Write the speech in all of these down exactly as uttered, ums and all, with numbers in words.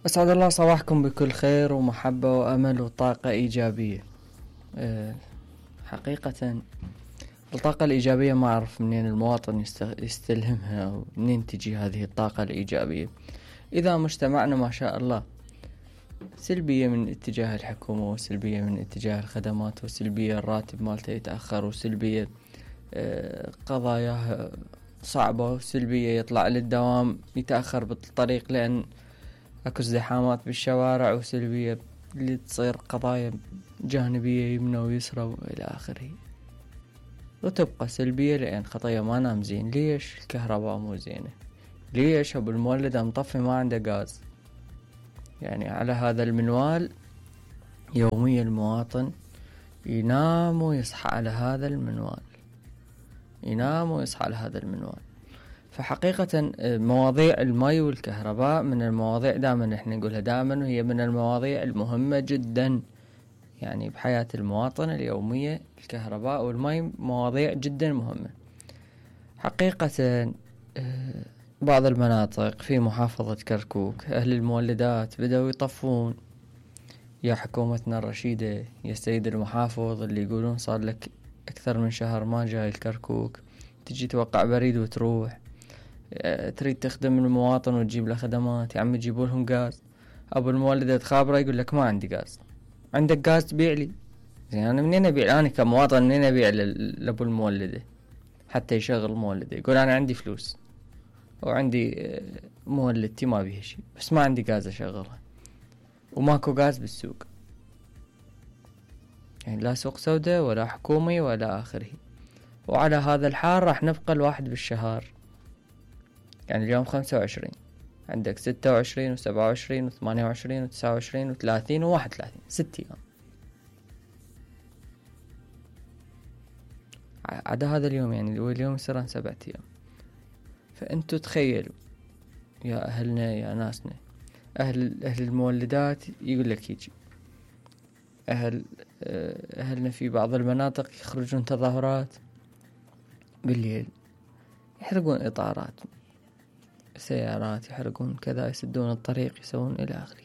أسعد الله صباحكم بكل خير ومحبة وأمل وطاقة إيجابية. أه حقيقة الطاقة الإيجابية ما أعرف منين المواطن يستلهمها ومنين تجي هذه الطاقة الإيجابية. إذا مجتمعنا ما شاء الله سلبية من اتجاه الحكومة، وسلبية من اتجاه الخدمات، وسلبية الراتب مالته يتأخر، وسلبية أه قضاياه صعبة، وسلبية يطلع للدوام يتأخر بالطريق لأن اكو ازدحامات بالشوارع، وسلبية اللي تصير قضايا جانبية يمنى ويسرى والى اخره. وتبقى سلبية لان خطية ما نام زين. ليش الكهرباء مو زينة؟ ليش ابو المولد مطفي ما عنده غاز؟ يعني على هذا المنوال يوميا المواطن ينام ويصحى على هذا المنوال، ينام ويصحى على هذا المنوال. فحقيقة مواضيع المي والكهرباء من المواضيع دائما احنا نقولها دائما، وهي من المواضيع المهمة جدا يعني بحياة المواطن اليومية. الكهرباء والمي مواضيع جدا مهمة حقيقة. بعض المناطق في محافظة كركوك أهل المولدات بدأوا يطفون. يا حكومتنا الرشيدة، يا السيد المحافظ اللي يقولون صار لك أكثر من شهر ما جاي الكركوك، تجي توقع بريد وتروح، تريد تخدم المواطن وتجيب له خدمات، يا عم تجيبوا لهم غاز. ابو المولد تخابره يقول لك ما عندي غاز. عندك غاز تبيع لي؟ زين انا منين ابيع؟ انا كمواطن منين ابيع لابو المولده حتى يشغل مولده؟ يقول انا عندي فلوس وعندي مولدتي ما بيها شيء، بس ما عندي غاز اشغلها، وماكو غاز بالسوق. يعني لا سوق سوداء ولا حكومي ولا اخره. وعلى هذا الحال راح نبقى الواحد بالشهر. يعني اليوم خمسة وعشرين، عندك ستة وعشرين وسبعة وعشرين وثمانية وعشرين وتسعة وعشرين وثلاثين وواحد وثلاثين، ست ايام. عدا هذا اليوم يعني اليوم يصير سبعة ايام. فانتوا تخيلوا يا اهلنا يا ناسنا، اهل اهل المولدات يقول لك يجي اهل اهلنا في بعض المناطق يخرجون تظاهرات بالليل، يحرقون اطارات سيارات، يحرقون كذا، يسدون الطريق، يسوون إلى آخره.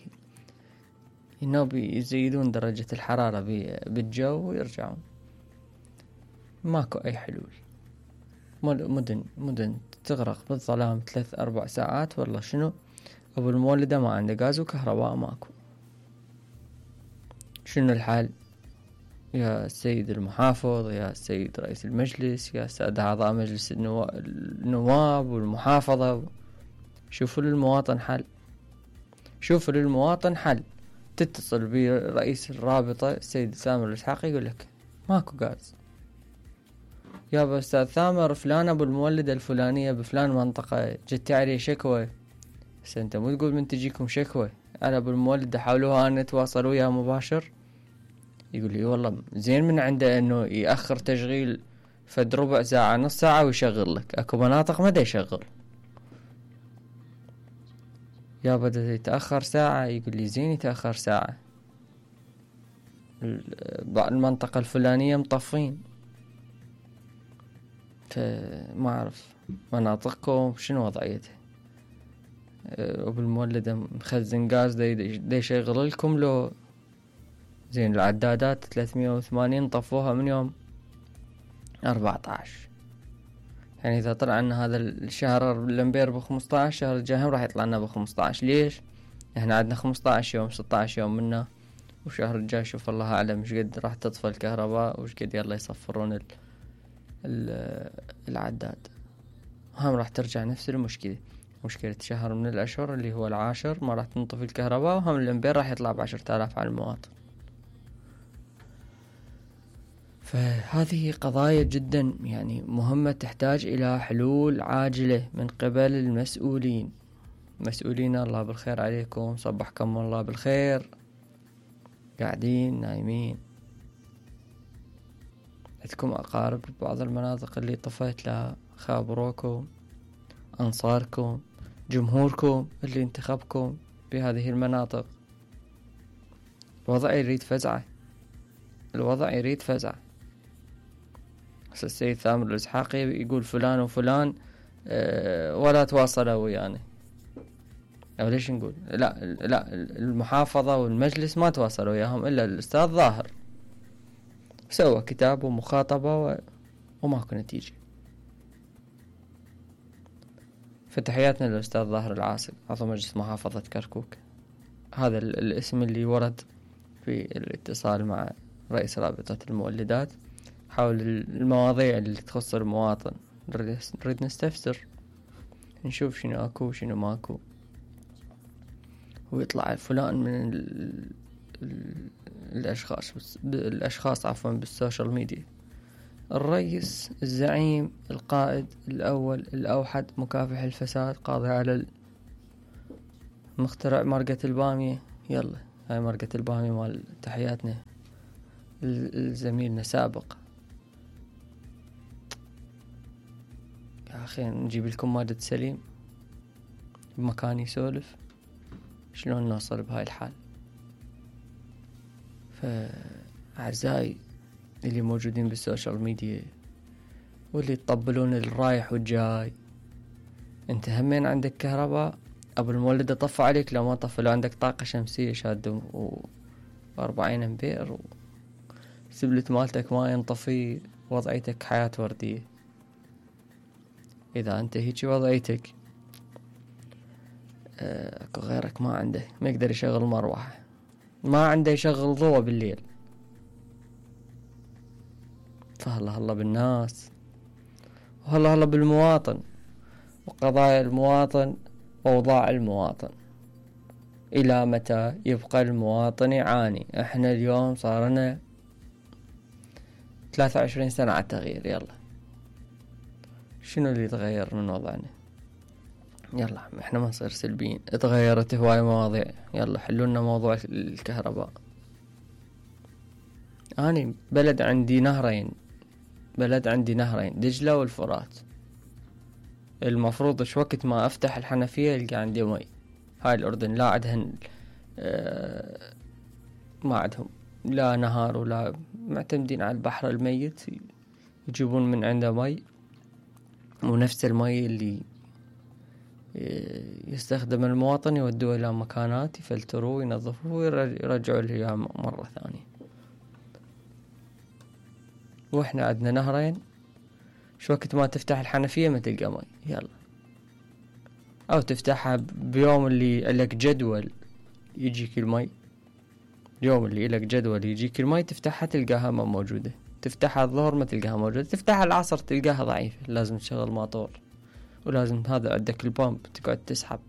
إنه يزيدون درجة الحرارة بالجو ويرجعون. ماكو أي حلول. مدن مدن تغرق بالظلام ثلاث أربع ساعات. والله شنو أبو المولدة ما عنده غاز وكهرباء ماكو. شنو الحال يا السيد المحافظ، يا السيد رئيس المجلس، يا سادة أعضاء مجلس النواب والمحافظة؟ شوفوا للمواطن حل، شوفوا للمواطن حل. تتصل برئيس الرابطة السيد ثامر الإسحاقي يقول لك ماكو غاز. يا أستاذ ثامر فلان أبو المولدة الفلانية بفلان منطقة جت عليه شكوى. بس أنت مو تقول من تجيكم شكوى على أبو المولدة حاولوها أن يتواصلوا وياه مباشر؟ يقول لي والله زين من عنده أنه يأخر تشغيل فد ربع ساعة نص ساعة ويشغل لك. أكو مناطق ما دا يشغل. يا بدأ يتأخر ساعة، يقول لي زين يتأخر ساعة. المنطقة الفلانية مطفين. فما أعرف مناطقكم شنو وضعيتها. أبو المولدة مخزن غاز دا يشغل لكم لو زين؟ العدادات ثلاثمية وثمانين طفوها من يوم أربعة عشر. يعني إذا طلع لنا هذا الشهر الأمبير بخمسة عشر، الشهر الجاي راح يطلع لنا بخمسة عشر. ليش؟ إحنا عندنا خمسة عشر يوم ستة عشر يوم منا، وشهر الجاي شوف الله أعلم مش قد راح تطفى الكهرباء وش قد يلا يصفرون ال ال العداد. هم راح ترجع نفس المشكلة، مشكلة شهر من الأشهر اللي هو العاشر ما راح تنطفي الكهرباء، وهم الأمبير راح يطلع بعشرة آلاف على المواطن. فهذه قضايا جدا يعني مهمة تحتاج إلى حلول عاجلة من قبل المسؤولين. مسؤولين الله بالخير عليكم، صبحكم الله بالخير. قاعدين نايمين، عندكم أقارب ببعض المناطق اللي طفيت لها، خابروكم، أنصاركم، جمهوركم اللي انتخبكم بهذه المناطق. الوضع يريد فزعة، الوضع يريد فزعة. السيد ثامر الإسحاقي يقول فلان وفلان أه ولا تواصلوا ويانا. أو ليش نقول لا لا المحافظة والمجلس ما تواصلوا وياهم إلا الأستاذ ظاهر، سوى كتاب ومخاطبة و... وماكو نتيجة. فتحياتنا للأستاذ ظاهر العاصي عضو مجلس محافظة كركوك، هذا الاسم اللي ورد في الاتصال مع رئيس رابطة المولدات حول المواضيع اللي تخص المواطن. نريد نستفسر نشوف شنو اكو شنو ماكو، ويطلع فلان من ال ال الاشخاص الاشخاص عفوا بالسوشيال ميديا الرئيس الزعيم القائد الاول الاوحد مكافح الفساد قاضي على مخترع مرقة البامية. يلا هاي مرقة البامية مال تحياتنا الزميلنا سابق. يا أخي نجيب لكم مادة سليم بمكان يسولف، شلون نوصل بهاي الحال؟ فأعزائي اللي موجودين بالسوشيال ميديا واللي يطبلون الرايح والجاي، انت همين عندك كهرباء ابو المولد طفى عليك لو ما طفى، لو عندك طاقة شمسية شادة واربعين امبير وسبلت مالتك ما ينطفي، وضعيتك حياة وردية. اذا انت هيجي وضعيتك اكو غيرك ما عنده ما يقدر يشغل مروحة، ما عنده يشغل ضوء بالليل، فهلا هلا بالناس وهلا هلا بالمواطن وقضايا المواطن وأوضاع المواطن. إلى متى يبقى المواطن يعاني؟ احنا اليوم صارنا ثلاثة وعشرين سنة على التغيير، يلا شنو اللي تغير من وضعنا؟ يلا احنا ما نصير سلبيين، اتغيرت هواي مواضيع، يلا حلولنا موضوع الكهرباء. أنا بلد عندي نهرين بلد عندي نهرين دجلة والفرات، المفروض شو وقت ما افتح الحنفية يلقى عندي مي. هاي الأردن لا عندهن اه ما عندهم لا نهار ولا معتمدين على البحر الميت، يجيبون من عنده مي، ونفس المي اللي يستخدم المواطن يودوه إلى مكانات يفلتروه وينظفوه ويرجعوا له إياه مرة ثانية. وإحنا عندنا نهرين، شو وقت ما تفتح الحنفية ما تلقى مي، يلا أو تفتحها بيوم اللي لك جدول يجيك المي، اليوم اللي لك جدول يجيك المي تفتحها تلقاها ما موجودة، تفتحها الظهر ما تلقاها موجودة، تفتحها العصر تلقاها ضعيفة، لازم تشغل ماطور، ولازم هذا عندك البامب تقعد تسحب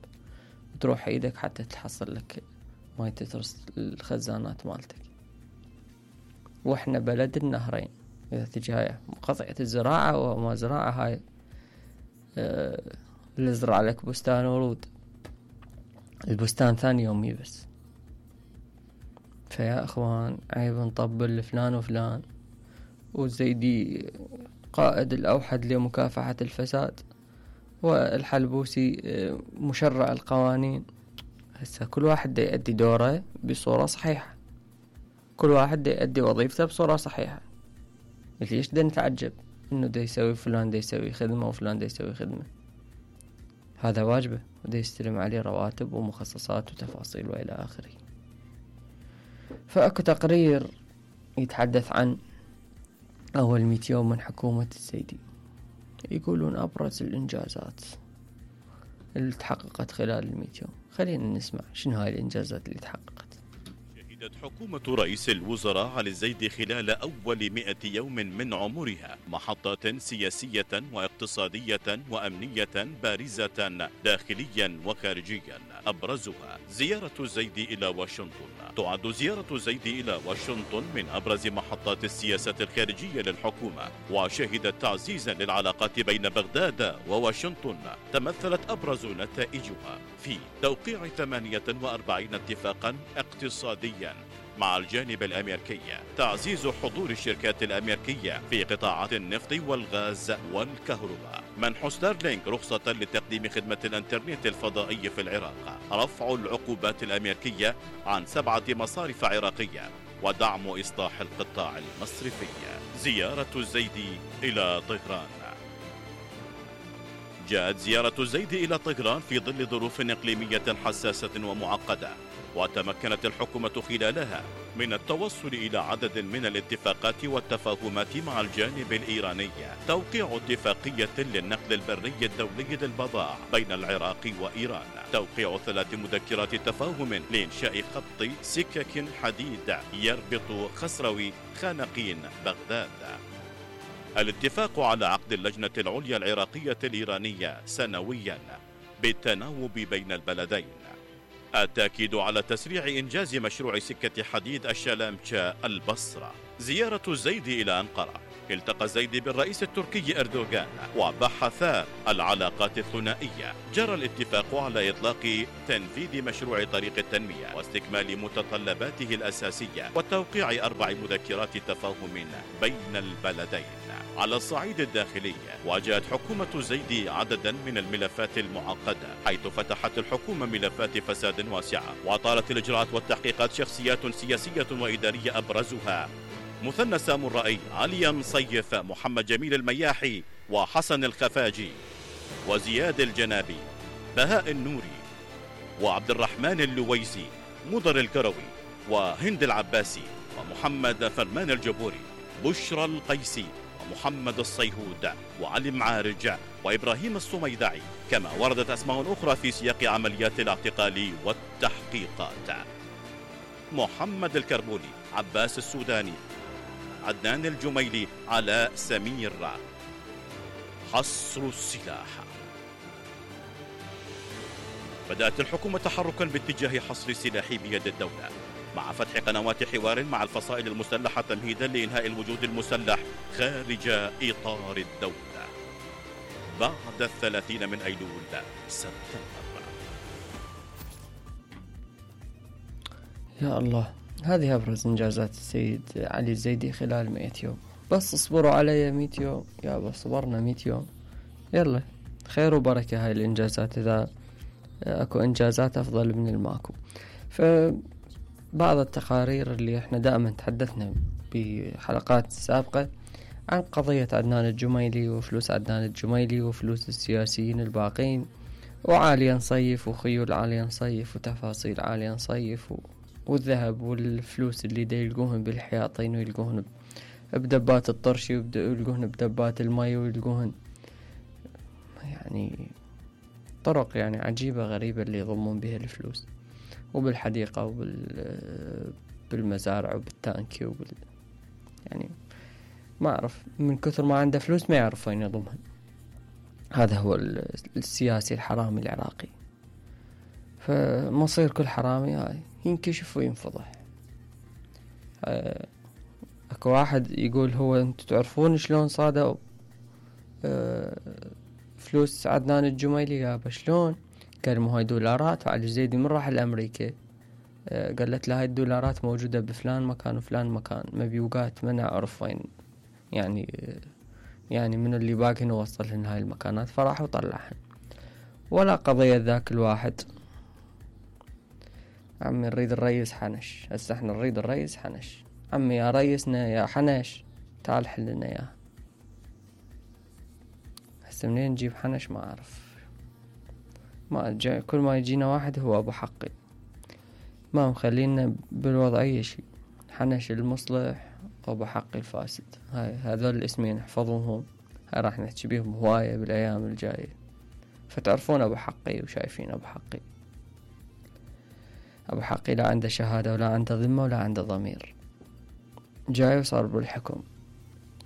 وتروح ايدك حتى تحصل لك ماي تترس الخزانات مالتك. واحنا بلد النهرين، اذا تجي هاي قطعة الزراعة وما زراعة هاي اه اللي زرع لك بستان ورود، البستان ثاني يومي بس. فيا اخوان عيب نطبل لفلان وفلان، والزيدي قائد الاوحد لمكافحة الفساد، والحلبوسي مشرع القوانين. هسه كل واحد دا يؤدي دوره بصورة صحيحة، كل واحد دا يؤدي وظيفته بصورة صحيحة. ليش دا نتعجب انه دا يسوي فلان دا يسوي خدمة وفلان دا يسوي خدمة؟ هذا واجبه ودا يستلم عليه رواتب ومخصصات وتفاصيل والى اخره. فاكو تقرير يتحدث عن اول مئة يوم من حكومة الزيدي، يقولون أبرز الإنجازات اللي تحققت خلال المئة يوم. خلينا نسمع شنو هاي الإنجازات اللي تحققت. شهدت حكومة رئيس الوزراء علي الزيدي خلال أول مئة يوم من عمرها محطات سياسية واقتصادية وأمنية بارزة داخليا وخارجيا، أبرزها زيارة الزيدي إلى واشنطن. تعد زيارة الزيدي إلى واشنطن من أبرز محطات السياسة الخارجية للحكومة، وشهدت تعزيزا للعلاقات بين بغداد وواشنطن تمثلت أبرز نتائجها في توقيع ثمانية وأربعين اتفاقا اقتصاديا مع الجانب الأمريكي، تعزيز حضور الشركات الأمريكية في قطاعات النفط والغاز والكهرباء، منح ستارلينك رخصة لتقديم خدمة الانترنت الفضائي في العراق، رفع العقوبات الأمريكية عن سبعة مصارف عراقية، ودعم إصلاح القطاع المصرفي. زيارة الزيدي إلى طهران. جاءت زيارة الزيدي إلى طهران في ظل ظروف إقليمية حساسة ومعقدة، وتمكنت الحكومة خلالها من التوصل إلى عدد من الاتفاقات والتفاهمات مع الجانب الإيراني، توقيع اتفاقية للنقل البري الدولي للبضائع بين العراق وإيران، توقيع ثلاث مذكرات تفاهم لإنشاء خط سكك حديد يربط خسروي خانقين بغداد، الاتفاق على عقد اللجنة العليا العراقية الإيرانية سنويا بالتناوب بين البلدين، التأكيد على تسريع إنجاز مشروع سكة حديد الشلامشة البصرة، زيارة الزيدي إلى أنقرة، التقى الزيدي بالرئيس التركي أردوغان وبحثا العلاقات الثنائية، جرى الاتفاق على إطلاق تنفيذ مشروع طريق التنمية واستكمال متطلباته الأساسية وتوقيع أربع مذكرات تفاهم بين البلدين. على الصعيد الداخلي واجهت حكومة الزيدي عددا من الملفات المعقدة، حيث فتحت الحكومة ملفات فساد واسعة وأطالت الإجراءات والتحقيقات شخصيات سياسية وإدارية أبرزها مثنى سامرائي، علي مصيف، محمد جميل المياحي، وحسن الخفاجي، وزياد الجنابي، بهاء النوري، وعبد الرحمن اللويسي، مضر الكروي، وهند العباسي، ومحمد فرمان الجبوري، بشرى القيسي، ومحمد الصيهود، وعلي معارج، وإبراهيم الصميدعي، كما وردت أسماء أخرى في سياق عمليات الاعتقال والتحقيقات: محمد الكربولي، عباس السوداني، عدنان الجميلي، علاء سمير. حصر السلاح. بدأت الحكومة تحركا باتجاه حصر السلاح بيد الدولة، مع فتح قنوات حوار مع الفصائل المسلحة تمهيدا لإنهاء الوجود المسلح خارج إطار الدولة بعد الثلاثين من أيلول سبتمبر. يا الله، هذه أبرز إنجازات السيد علي الزيدي خلال مئة يوم. بس اصبروا علي مئة يوم، يا بس صبرنا مئة يوم، يلا خير وبركة هاي الإنجازات إذا أكو إنجازات أفضل من الماكو. فبعض التقارير اللي إحنا دائما تحدثنا بحلقات سابقة عن قضية عدنان الجميلي وفلوس عدنان الجميلي وفلوس السياسيين الباقين، وعاليا نصيف وخيول عاليا نصيف وتفاصيل عاليا نصيف و... والذهب والفلوس اللي دا يلقوهن بالحياطين ويلقوهن بدبات الطرشي ويلقوهن بدبات المي ويلقوهن يعني طرق يعني عجيبة غريبة اللي يضمون بها الفلوس، وبالحديقة وبالمزارع وبالتانكي وبال يعني ما أعرف، من كثر ما عنده فلوس ما يعرف وين يضمها. هذا هو السياسي الحرامي العراقي. فمصير كل حرامي هاي ينكشف وينفضح. أه اكو واحد يقول هو انتوا تعرفون شلون صادوا أه فلوس عدنان الجميلي؟ يابا شلون؟ قال مو هاي دولارات، وعلي الزيدي من راح لأمريكا أه قالت له هاي الدولارات موجودة بفلان مكان وفلان مكان، مبيوقات ما نعرف وين يعني يعني من اللي باقي نوصلهن هاي المكانات، فراح وطلعهن. ولا قضية ذاك الواحد عمي نريد الرئيس حنش، هسه احنا نريد الرئيس حنش، عمي يا رئيسنا يا حنش تعال حلنا اياه. هسه منين نجيب حنش ما اعرف، ما جا كل ما يجينا واحد هو ابو حقي، ما مخلينا بالوضعية شي، حنش المصلح وابو حقي الفاسد. هاي هذول الاسمين احفظوهم، هاي راح نحكي بيهم هواية بالايام الجاية، فتعرفون ابو حقي وشايفين ابو حقي. أبو حقي لا عنده شهادة ولا عنده ذمة ولا عنده ضمير، جاي وصار بالحكم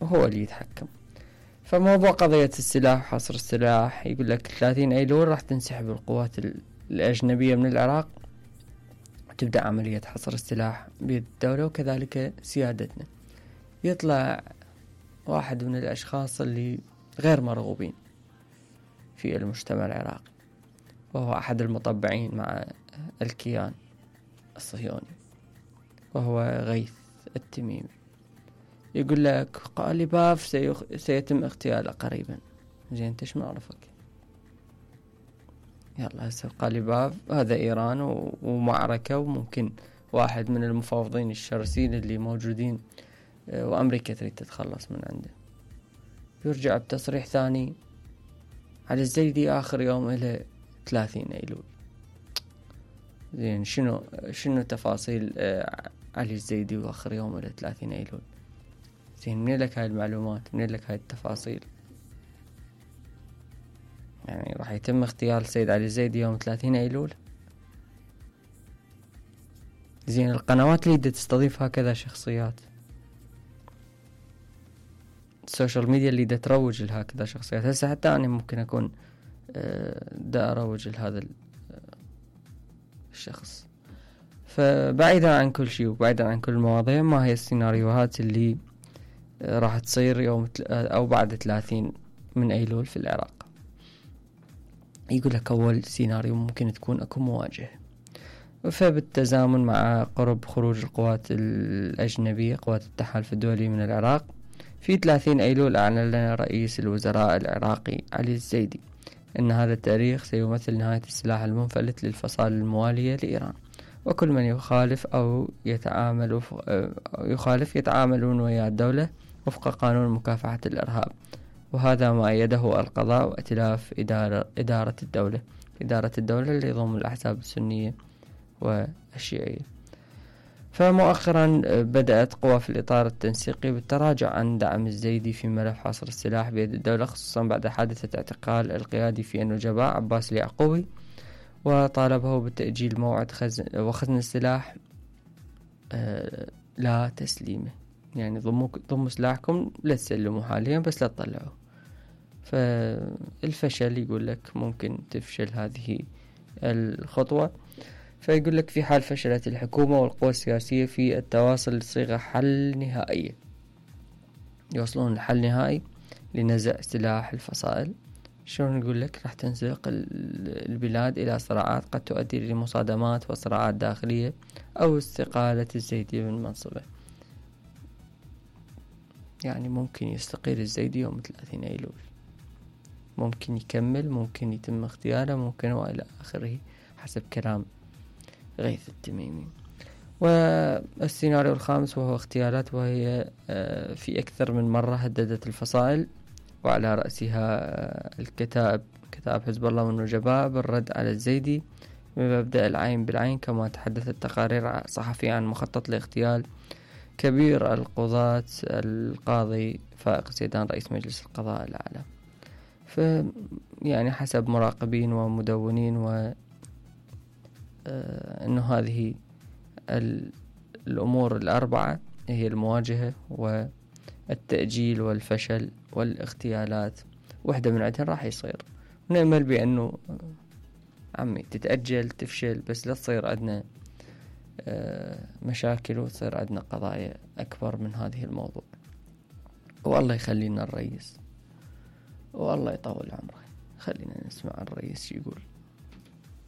وهو اللي يتحكم. فموضوع قضية السلاح وحصر السلاح، يقول لك ثلاثين أيلول راح تنسحب القوات الأجنبية من العراق وتبدأ عملية حصر السلاح بيد الدولة وكذلك سيادتنا. يطلع واحد من الأشخاص اللي غير مرغوبين في المجتمع العراقي، وهو أحد المطبعين مع الكيان الصهيوني، وهو غيث التميمي. يقول لك قالباف سيخ... سيتم اغتياله قريبا. زين انت شو نعرفك؟ يلا هسه قالباف هذا ايران و... ومعركة، وممكن واحد من المفاوضين الشرسين اللي موجودين وامريكا تريد تتخلص من عنده. يرجع بتصريح ثاني علي الزيدي آخر يوم إلى ثلاثين أيلول. زين شنو شنو تفاصيل آه علي الزيدي وآخر يوم إلى ثلاثين أيلول؟ زين منين لك هاي المعلومات؟ منين لك هاي التفاصيل؟ يعني راح يتم اغتيال السيد علي الزيدي يوم ثلاثين أيلول؟ زين القنوات اللي تستضيف هكذا شخصيات، السوشيال ميديا اللي دا تروج لهكذا شخصيات، هسه حتى أنا ممكن أكون دا أروج لهذا الشخص. فبعيدا عن كل شيء وبعيدا عن كل المواضيع، ما هي السيناريوهات اللي راح تصير يوم أو بعد ثلاثين من أيلول في العراق؟ يقول لك أول سيناريو ممكن تكون أكو مواجهة، فبالتزامن مع قرب خروج القوات الأجنبية قوات التحالف الدولي من العراق في ثلاثين أيلول، أعلن لنا رئيس الوزراء العراقي علي الزيدي أن هذا التاريخ سيمثل نهاية السلاح المنفلت للفصائل الموالية لإيران، وكل من يخالف أو يتعامل يخالف يتعاملون ويا الدولة وفق قانون مكافحة الإرهاب، وهذا ما أيده القضاء وائتلاف إدارة, إدارة الدولة إدارة الدولة اللي يضم الأحزاب السنية والشيعية. فمؤخرا بدأت قوى في الإطار التنسيقي بالتراجع عن دعم الزيدي في ملف حصر السلاح بيد الدولة، خصوصا بعد حادثة اعتقال القيادي في النجباء عباس اليعقوبي، وطالبه بتأجيل موعد خزن وخزن السلاح آه لا تسليمه، يعني ضموا ضموا سلاحكم لا تسلموا حاليا بس لا تطلعوا. فالفشل يقول لك ممكن تفشل هذه الخطوة، فيقول لك في حال فشلت الحكومة والقوى السياسية في التواصل لصيغة حل نهائية يوصلون لحل نهائي لنزع سلاح الفصائل، شلون نقول لك راح تنزلق البلاد إلى صراعات قد تؤدي لمصادمات وصراعات داخلية أو استقالة الزيدي من منصبه. يعني ممكن يستقيل الزيدي يوم ثلاثين أيلول، ممكن يكمل، ممكن يتم اغتياله، ممكن وإلى آخره حسب كلام غيث التميمي. والسيناريو الخامس وهو اغتيالات، وهي في أكثر من مرة هددت الفصائل وعلى رأسها الكتائب كتائب حزب الله والنجباء بالرد على الزيدي بمبدأ العين بالعين، كما تحدثت تقارير صحفية عن مخطط لاغتيال كبير القضاة القاضي فائق زيدان رئيس مجلس القضاء الأعلى. ف يعني حسب مراقبين ومدونين و آه أنه هذه الأمور الأربعة هي المواجهة والتأجيل والفشل والاغتيالات، واحدة من عندها راح يصير، ونأمل بأنه عمي تتأجل تفشل بس لا تصير عندنا آه مشاكل وتصير عندنا قضايا أكبر من هذه الموضوع. والله يخلينا الرئيس والله يطول عمره، خلينا نسمع الرئيس يقول.